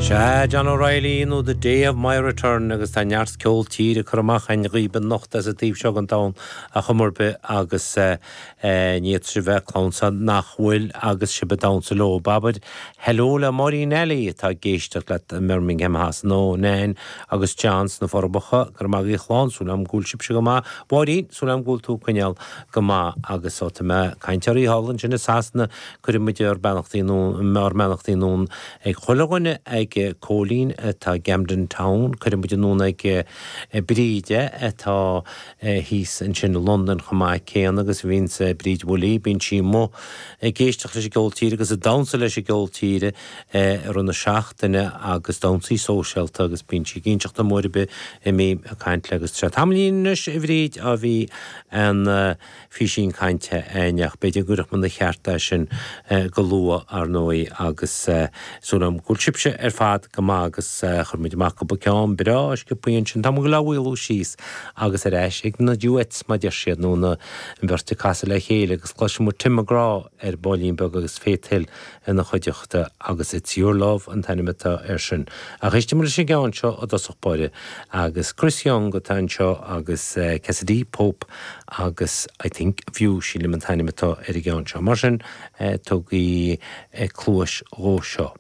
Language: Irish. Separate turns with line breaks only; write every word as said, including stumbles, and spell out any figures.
Sea, John O'Reilly nó The Day of My Return agus tá neart ceol tíre curtha amach againn dhaoibh anocht as an taobh seo den domhan ar chuma ar bith agus ní fhéadfadh bheith clann nach bhfuil agus sibh ag damhsa leo. Abair hello le Máirín Alley atá ag éisteacht leat i mBirmingham Shasana ó Nain agus John sna Forbacha gur maith go chláán súil agam go bhfuil sibhse go maith. Máirín súil agam go bhfuil tú coinneáil go maith agus ó tá mé ag caint ar thall ansin i Sasana cuireann muid ár mbeannachtaí ár mbeannachtaí anonn ag chuile dhuine ag Cóilín atá Camden Town, cuireann muid anonn ag Bríde atá thíos ansin i Londain chomh maith céanna agus bhíonn Bríd Woolley, bíonn sí amuigh ag éisteacht leis an gceol tíre agus ag damhsa leis an gceol tíre i rith na seachtaine agus damhsaí sóisialta agus bíonn sí ag inseacht dom uair ar bith a mbím ag caint léi agus tá tamaillín anois a Bhríd ó bhí an físín cainte againn ach b'fhéidir go gcuirfeadh muid ina cheart é sin go luath ar ndóigh agus súil agam go bhfuil sibhse ar fad go maith agus chuir muid amach cúpla ceann breá sciobtha ansin tá muid ag maolú síos agus ar ais ag na duets mar deir siad nó na an bheirt ag casadh le chéile agus cloisfidh muid Tim McGraw ar baillín beag agus Faith Hill ina chuideachta agus It's Your Love an t-ainm atá air sin. Ach éistfidh muid leis an gceann seo i dtosach báire agus Chris Young atá anseo agus Cassadee Pope agus I think of you sílim an t-ainm atá ar an gceann seo. Mar sin tugaigí cluas dhó seo.